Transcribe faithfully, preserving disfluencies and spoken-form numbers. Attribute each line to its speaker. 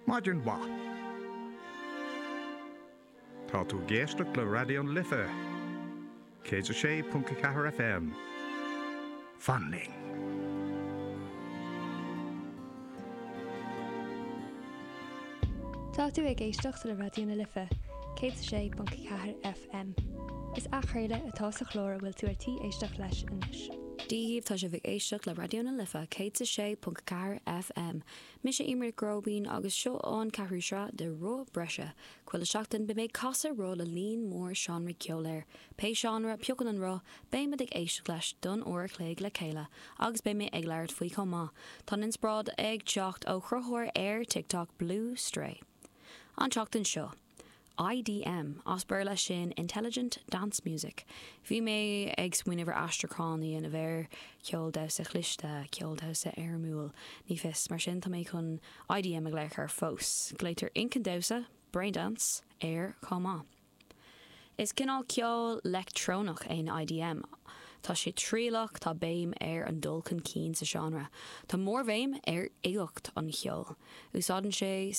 Speaker 1: Maidin mhaith. Tá tú ag éisteacht le Raidió na Life. Céad a sé ponc ceathair FM. Fan linn.
Speaker 2: Tá tú ag éisteacht le Raidió na Life, céad a sé ponc ceathair FM. Is athchraoladh atá sa chlár a bhfuil tú ar tí éisteacht leis anois.
Speaker 3: Dia dhaoibh tá sibh ag éisteacht le Raidió na Life céad a sé ponc ceathair FM. Mise Eimear Nic Róibín agus seo an ceathrú sraith de Roth Breise. Chuile seachtain beidh mé ag casadh roth le líon mór seánraí ceoil air. Pé seánra a phiocann an roth, beimid ag éisteacht leis don uair a chloig le chéile agus beidh mé ag labhairt faoi chomh maith. Tá an inspioráid ag teacht ó chruthaitheoir ar TikTok Blue Stray. An tseachtain seo. IDM, as Béarla sin Intelligent Dance Music. Bhí mé ag smaoineamh ar aistriúchán a dhéanamh air, ceol damhsa chliste, ceol damhsa éirimiúil, ní fios, mar sin tá mé chun IDM a ghlaoch air fós. Glaotar inchinn damhsa, braindance, air chomh maith. Is cineál ceol leictreonach é an IDM. Tá sé trialach, tá béim ar an dul chun cinn sa seánra. Tá mórbhéim ar uigeacht an cheoil. Úsáideann sé